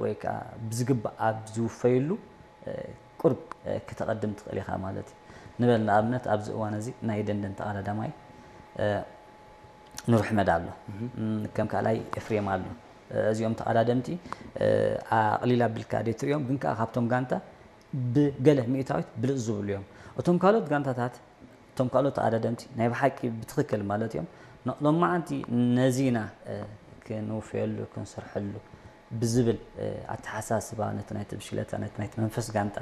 ወይ ከዓ ብዝግባእ ኣብ ዝውፈየሉ ቁርብ ክተቐድም ትኽእል ኢኻ ማለት እዩ። ንበል ንኣብነት ኣብዚ እዋን እዚ ናይ ደንደን ተቐዳዳማይ ኑር ሕመድ ኣሎ፣ ከም ካልኣይ ኤፍሬም ኣሎ። እዚኦም ተቐዳደምቲ ኣቕሊል ኣቢልካ ደይትሪኦም፣ ግን ከዓ ካብቶም ጋንታ ብገለ ሚእታዊት ብልፅ ዝብሉ እዮም። እቶም ካልኦት ጋንታታት፣ እቶም ካልኦት ተቐዳደምቲ ናይ ብሓቂ ብትኽክል ማለት እዮም፣ ሎማዓንቲ ነዚና ክንውፍየሉ ክንሰርሐሉ ብዝብል ኣተሓሳስባ ነቲ ናይቲ ብሽክለታ፣ ነቲ ናይቲ መንፈስ ጋንታ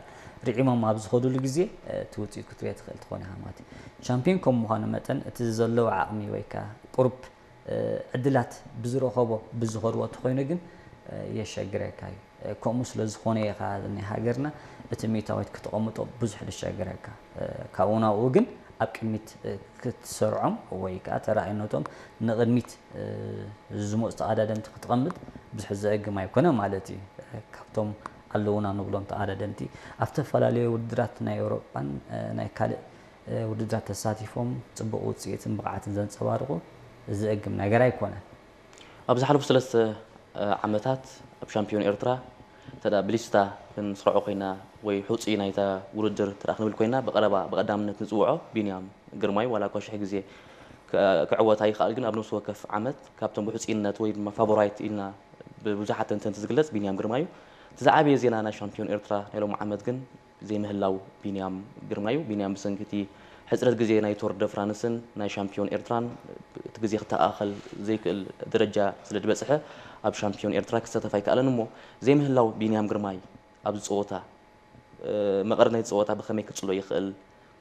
ርዒሞም ኣብ ዝኸዱሉ ግዜ እቲ ውፅኢት ክትሪኦ ትኽእል ትኾን ኢኻ ማለት እዩ። ቻምፒዮን ከም ምዃኑ መጠን እቲ ዘለዎ ዓቕሚ ወይ ከዓ ቁሩብ ዕድላት ብዝረኸቦ ብዝኸድዎ እንተኾይኑ ግን የሸግረካ እዩ። ከምኡ ስለ ዝኾነ ኢኻ ናይ ሃገርና እቲ ሚእታዊት ክተቐምጦ ብዙሕ ዝሸግረካ። ካብኡ ናብኡ ግን ኣብ ቅድሚት ክትሰርዖም ወይ ከዓ ተራእይነቶም ንቕድሚት ዝመፁ ተቐዳደምቲ ክትቐምጥ ብዙሕ ዘእግም ኣይኮነ ማለት እዩ። ካብቶም ኣለዉና ንብሎም ተቐዳደምቲ ኣብ ዝተፈላለዩ ውድድራት ናይ ኤውሮጳን ናይ ካልእ ውድድራት ተሳቲፎም ፅቡቕ ውፅኢትን ብቕዓትን ዘንፀባርቑ ዘእግም ነገር ኣይኮነን። ኣብ ዝሓለፉ ሰለስተ ዓመታት ኣብ ሻምፒዮን ኤርትራ እንተ ደኣ ብሊስታ ክንስርዖ ኮይና ወይ ሕጹይ ናይታ ውድድር እንተ ደኣ ክንብል ኮይና፣ ብቐረባ ብቐዳምነት ንጽውዖ ቢንያም ግርማይ፣ ዋላ እኳ ሽሕ ግዜ ክ-፣ ክዕወት ኣይኽኣል፣ ግን ኣብ ነፍሲ ወከፍ ዓመት ካብቶም ብሕጹይነት ወይ ድማ ፋቮራይት ኢልና ብብዙሓት ተንተንቲ ዝግለጽ ቢንያም ግርማይ እዩ። እቲ ዝዓበየ ዜና ናይ ሻምፒዮን ኤርትራ ናይ ሎሚ ዓመት ግን ዘይምህላው ቢንያም ግርማይ እዩ። ቢንያም ብሰንኪ እቲ ሕጽረት ግዜ ናይ ቶር ደ ፍራንስን ናይ ሻምፒዮን ኤርትራን እቲ ግዜ ክተኣኻኸል ዘይክእል ደረጃ ስለ ዝበጽሐ ኣብ ሻምፒዮን ኤርትራ ክሳተፍ ኣይከኣለን እሞ ዘይምህላው ቢንያም ግርማይ ኣብዚ ጸወታ፣ እ፣ መቐረት ናይቲ ጸወታ ብኸመይ ክጽሎ ይኽእል?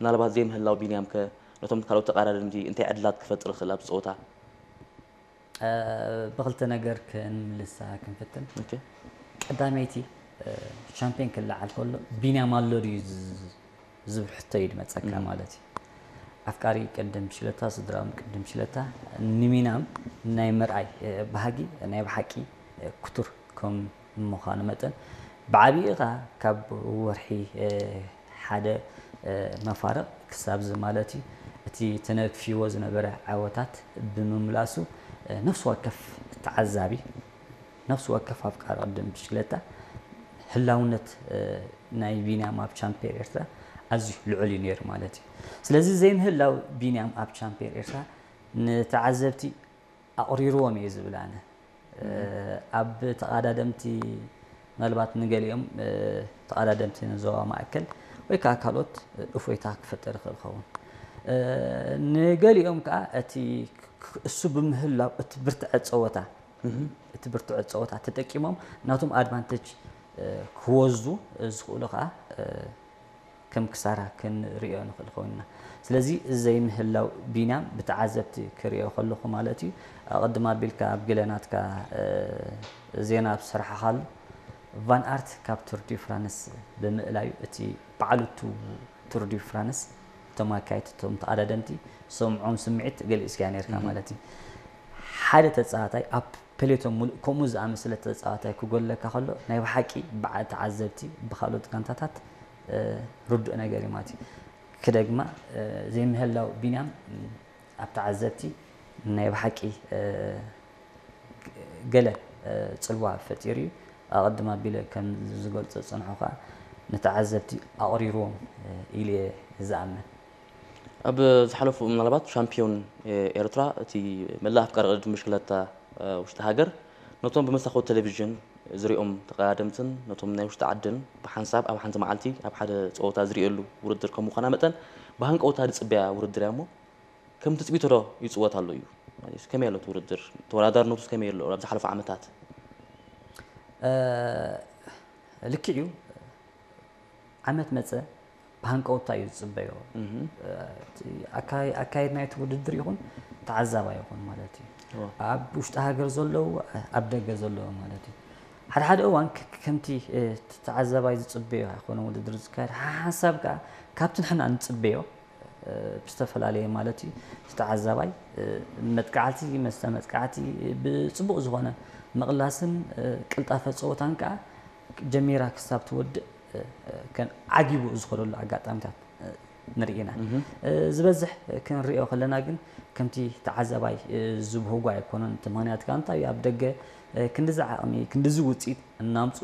ምናልባት ዘይምህላው ቢንያም ከ ነቶም ካልኦት ተቐዳደምቲ እንታይ ዕድላት ክፈጥር ይኽእል ኣብዚ ጸወታ? እ፣ ብኽልተ ነገር ክንምልሳ ክንፍትን። ኦኬ። ቀዳመይቲ፣ እ፣ ሻምፒዮን ክለዓል ከሎ ቢንያም ኣሎ ድዩ ዝ-፣ ዝብል ሕቶ እዩ ዝመጸካ እም። ማለት እዩ። ኣፍቃሪ ቅድም ብሽለታ፣ ስድራኦም ቅድም ብሽለታ፣ ንቢንያም ናይ ምርኣይ፣ እ፣ ባህጊ ናይ ብሓቂ፣ እ፣ ክቱር ከም ምዃኑ መጠን፣ ብዓቢኡ ኸኣ ካብ ወርሒ፣ እ፣ ሓደ፣ እ፣ መፋርቕ ክሳብ እዚ ማለት እዩ፣ እቲ ተነክፍዎ ዝነበረ ዓወታት ብምምላሱ፣ እ፣ ነፍሲ ወከፍ ተዓዛቢ፣ ነፍሲ ወከፍ ኣፍቃሪ ቅድም ብሽክለታ ህላውነት፣ እ፣ ናይ ቢንያም ኣብ ቻምፒዮን ኤርትራ ኣዝዩ ልዑል እዩ ነይሩ ማለት እዩ። ስለዚ ዘይምህላው ቢንያም ኣብ ቻምፒዮን ኤርትራ ንተዓዘብቲ ኣቑሪርዎም እየ ዝብል ኣነ። እ፣ ኣብ ተቐዳደምቲ፣ ምናልባት ንገሊኦም፣ እ፣ ተቐዳደምቲ ንዞባ ማእከል ወይ ከዓ ካልኦት፣ እ፣ እፎይታ ክፈጥር ይኽእል ይኸውን። እ፣ ንገሊኦም ከዓ እቲ ክ-፣ እሱ ብምህላው እቲ ብርትዐ ጸወታ፣ እህ። እቲ ብርትዐ ጸወታ ተጠቂሞም ናቶም ኣድቫንቴጅ፣ እ፣ ክወስዱ ዝኽእሉ ከዓ፣ እ፣ ከም ክሳራ ክንርእዮ ንኽእል ኮይንና። ስለዚ ዘይምህላው ቢንያም ብተዓዘብቲ ክርእዮ ከለኹ ማለት እዩ፣ ኣቐድም ኣቢልካ ኣብ ገለ ናትካ፣ እ፣ ዜና ኣብ ዝሰራሕኻሉ ቫን ኣርት ካብ ቱር ዲ ፍራንስ ብምእላዩ እቲ በዓልቱ ቱር ዲ ፍራንስ እቶም ኣካየድቲ እቶም ተቐዳደምቲ ዝሰምዖም ስምዒት ገሊጽካዮ ነይርካ እህ። ማለት እዩ። ሓደ ተጻዋታይ ኣብ ፔሌቶን ሙሉእ ከምኡ ዝኣመሰለ ተጻዋታይ ክጎድለካ ከሎ ናይ ብሓቂ ብዓ-፣ ተዓዘብቲ ብኻልኦት ጋንታታት እ፣ ርዱእ ነገር እዩ ማለት እዩ። ክደግማ፣ እ፣ ዘይምህላው ቢንያም፣ እ፣ ኣብ ተዓዘብቲ ናይ ብሓቂ፣ እ፣ ገለ፣ እ፣ ጽልዋ ፈጢሩ እዩ። ኣቐድም ኣቢለ ከም ዝገልጾ ዝጸንሖ ከኣ ንተዓዘብቲ ኣቕሪርዎም፣ እ፣ ኢሉ እየ ዝኣምን። ኣብ ዝሓለፉ ምናልባት ሻምፒዮን፣ እ፣ ኤርትራ እቲ መላእ ኣፍቃሪ ቅድድም ብሽክለታ፣ እ፣ ውሽጢ ሃገር ነቶም ብመሳኹቲ ቴሌቪዥን ዝሪኦም ተቐዳደምትን ነቶም ናይ ውሽጢ ዓድን ብሓንሳብ ኣብ ሓንቲ መዓልቲ ኣብ ሓደ ጸወታ ዝርእየሉ ውድድር ከም ምዃና መጠን ብሃንቀውታ ዝጽበያ ውድድር እያ እሞ ከም ትጽቢቶ ዶ ይጽወት ኣሎ እዩ? ማለትስ ከመይ ኣሎ እቲ ውድድር? ተወዳዳርነቱስ ከመይ ኣሎ ኣብ ዝሓለፉ ዓመታት? እ፣ ልክዕ እዩ። ዓመት መጸ ብሃንቀውታ እዩ ዝጽበዮ። እህ። እ፣ እቲ ኣካይ-፣ ኣካየድ ናይቲ ውድድር ይኹን ተዓዛባይ ይኹን ማለት እዩ። እዎ። ኣብ ውሽጢ ሃገር ዘለዉ፣ ኣብ ደገ ዘለዉ ማለት እዩ። ሓደ ሓደ እዋን ክ-፣ ከምቲ፣ እ፣ እቲ ተዓዛባይ ዝጽበዮ ኣይኮነን ውድድር ዝካየድ። ሓ-፣ ሓንሳብ ከኣ ካብቲ ንሕና ንጽበዮ፣ እ፣ ብዝተፈላለየ ማለት እዩ። እቲ ተዓዛባይ፣ እ፣ መጥቃዕቲ፣ መስተ መጥቃዕቲ፣ ብጽቡቕ ዝኾነ ምቕላስን፣ እ፣ ቅልጣፈ ጸወታን ከኣ ጀሚራ ክሳብ ትወድእ፣ እ፣ እ፣ ከም ዓጊቡ ዝኸደሉ ኣጋጣሚታት፣ እ፣ ንርኢ ኢና። እህ። እ፣ ዝበዝሕ ክንሪኦ ከለና ግን ከምቲ ተዓዛባይ፣ እ፣ ዝብህጎ ኣይኮነን። እቲ ምኽንያት ከኣ እንታይ እዩ? ኣብ ደገ፣ እ፣ ክንድዚ ዓቕሚ፣ ክንድዚ ውጽኢት እናምጽኡ